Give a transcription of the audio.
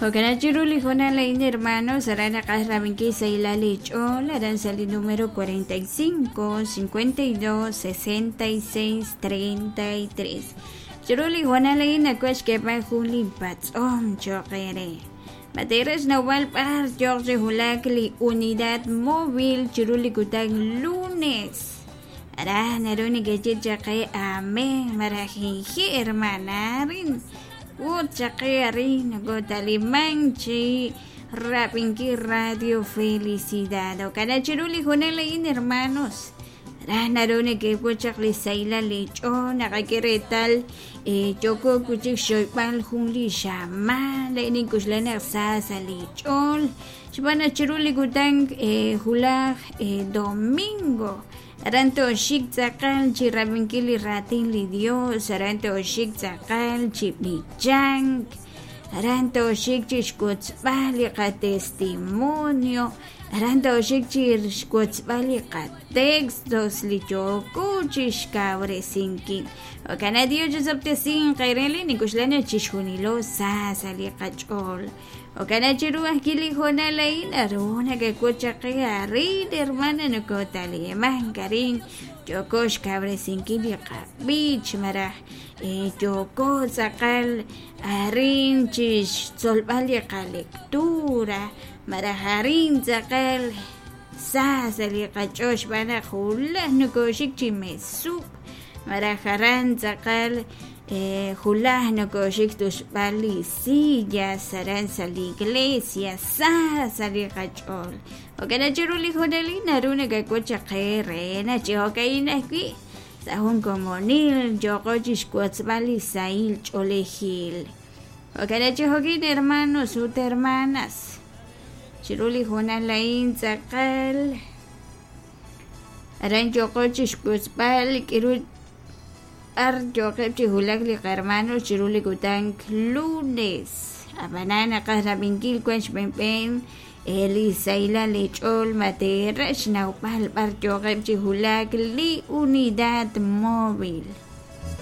Jo'kan chiru li hoonal a'in hermanos aran naqaj rab'inkil sahilal li ch'ool aran sa' li número 45 52 66 33. Chiru li hoonal a'in nawaj xk'eeb'al jun li patz'om cho'q eere. Ma teeraj xnawb'al b'ar yooq chi wulak li unidad móvil chiru li kutan lunes? Aran naru nekeye chaq qe amén malaj hehe' hermana arin ut chaq qe arin nokotalimank chi rab'inkil Radio Felicidad. Jo'kan chiru li hoonal a'in hermanos raj naru nekewotz chaq li sahilal li ch'ool naqak'e reetal yooko wi' chik xxoyb'al jun li xamaan re nink'oxla naq sa sa' li ch'ool xb'aan naq chiru li kutan wulaj domingo aran tooxik tz'aqal chi rab'inkil li raatin li Dios aran tooxik tz'aqal chi b'ichank aran tooxik chi xwotzb'al li qatestimonio aran tooxik chi xwotzb'al li qatextos li yooko chi xkawresinkil. Jo'kan naq Dios chisob'tesinq eere li nink'oxla naq chixjunilo sa sa' li qach'ool. Jo'kan naq chiru ajwi' li hoonal a'in naru nakawotz chaq qe arin hermana nokotalimank arin yooko xkawresinkil li qab'ich malaj yooko tz'aqal arin chi xtzolb'al li qalectura malaj arin tz'aqal sa sa' li qach'ool xb'aan naq wulaj nokooxik chi mesub' malaj aran tz'aqal wulaj nokooxik tusb'al li sillas aran sa' li iglesia sa sa' li qach'ool. Jo'kan naq chiru li hoonalil naru nakawotz chaq qe re naq chi jo'ka'in ajwi' sa' jun komonil yooqo chixwotzb'al li sahil ch'oolejil. Jo'kan naq chi jo'kin hermanos ut hermanas chiru li hoonal a'in tz'aqal aran yooqo chixwotzb'al k'aru b'ar yooqeb' chi wulak li qahermanos chiru li kutan lunes. Ab'anan naqaj rab'inkil wan xb'enb'en li sahilal li ch'ool ma teeraj xnawb'al b'ar yooqeb' chi wulak li unidad móvil.